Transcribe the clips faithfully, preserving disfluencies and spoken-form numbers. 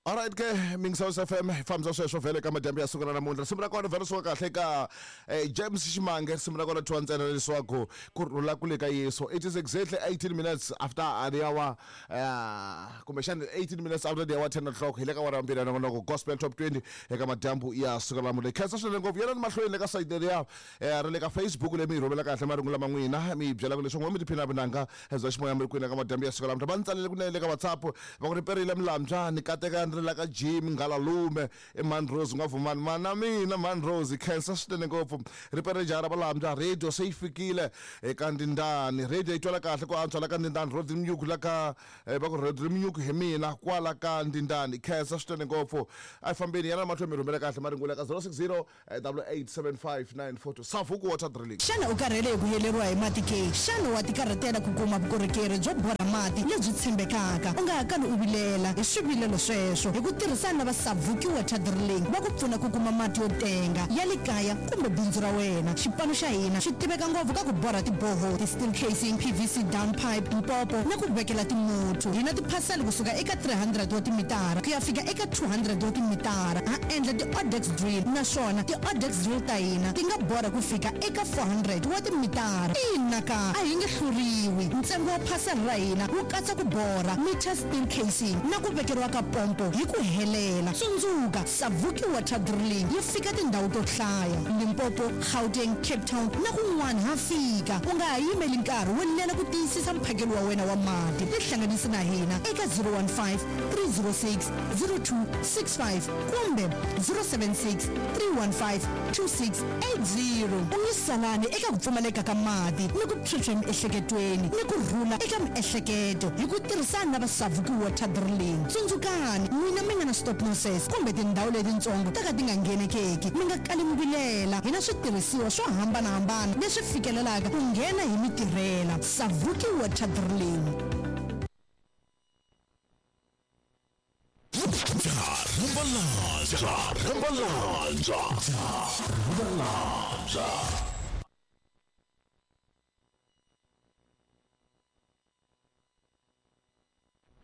Alright ke Mingsaus F M fambisa sweswo vhele ka madyambu ya siku ra namuntlha risimu ra kona vhele suka kahle ka eh, James Ximange risimu ra kona thiwa ntsena leswaku ku rhula kule ka Yesu. It is exactly eighteen minutes after the hour, uh, kumbexana eighteen minutes after the hour ten o'clock hi le ka wara mbirhi ya nongonoko Gospel Top twenty eka madyambu ya siku ra namuntlha. Khensa swinene ngopfu yena ni mahlweni le ka site leriya eh, ra le ka Facebook leyi mi yi rhumela kahle marungu lama n'wina mi yi byelaka leswaku n'we mi tiphina vunanga bya ximoya mi ri kwini eka madyambu ya siku ra namuntlha. Va ni tsalele kunene le ka WhatsApp va ku ri perile Mlambya ni kateka ni ri la ka Jim Ngalalume i Man Rose nga vumani mana mina Man Rose khensa swinene ngopfu ri pere jara Valambya radio se yi fikile eka Ndindani radio yi twala kahle ku antswa la ka Ndindani Rodri Mnyuku la ka va ku Rodri Mnyuku hi mina kwala ka Ndindani khensa swinene ngopfu a yi fambeni yana mahlweni mi rhumela kahle marungula ka zero six zero double eight seven five nine four two Savuku Water Drilling. Xana u karhele hi ku heleriwa hi mati ke? Xana wa tikarhatela ku kuma vukorhokeri byo borha mati lebyi tshembekaka? U nga ha kali u vilela hi swivilelo sweswo hi ku tirhisana na va Savuki Water Drilling va ku pfuna ku kuma mati yo tenga ya le kaya kumbe bindzu ra wena. Xipano xa hina xi tiveka ngopfu ka ku borha tiboho, ti-steel casing, P V C down pipe, mpopo na ku vekela timuthu. Hi na tiphasela kusuka eka three hundred wa timitara ku ya fika eka two hundred wa timitara. Ha endla ti-odex drill naswona ti-odex drill ta hina ti nga borha ku fika eka four hundred wa timitara. Ina ka a hi nge hluriwi. Ntsengo wa phasela ra hina wu katsa ku borha, meter steel casing na ku vekeriwa ka pompo hi ku helela. Tsundzuka, Savuki Water Drilling yi fika tindhawu to hlaya, Limpopo, Gauteng, Cape Town na kun'wana ha fika. U nga ha yimeli nkarhi wo lela ku tiyisisa mphakelo wa wena wa mati. Tihlanganisi na hina eka zero one five, three zero six, zero two six five kumbe zero seven six, three one five, two six eight zero. U nge salani eka ku pfumaleka ka mati ni ku phyuphya emiehleketweni ni ku rhula eka miehleketo hi ku tirhisana na va Savuki Water Drilling. Tsundzukani, n'wina mi nga na stop losses kumbe tindhawu letitsongo ta ka ti nga nghenekeki, mi nga kali mi vilela. Hi na switirhisiwa swo hambanahambana leswi fikelelaka ku nghena hi mi tirhela. Savuki Water Drilling.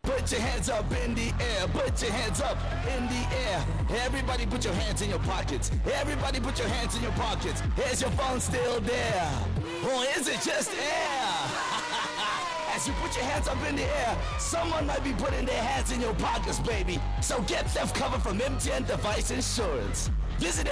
Put your hands up in the air, put your hands up in the air. Everybody put your hands in your pockets. Everybody put your hands in your pockets. Is your phone still there? Or is it just air? As you put your hands up in the air, someone might be putting their hands in your pockets, baby. So get theft cover from M T N Device Insurance. Visit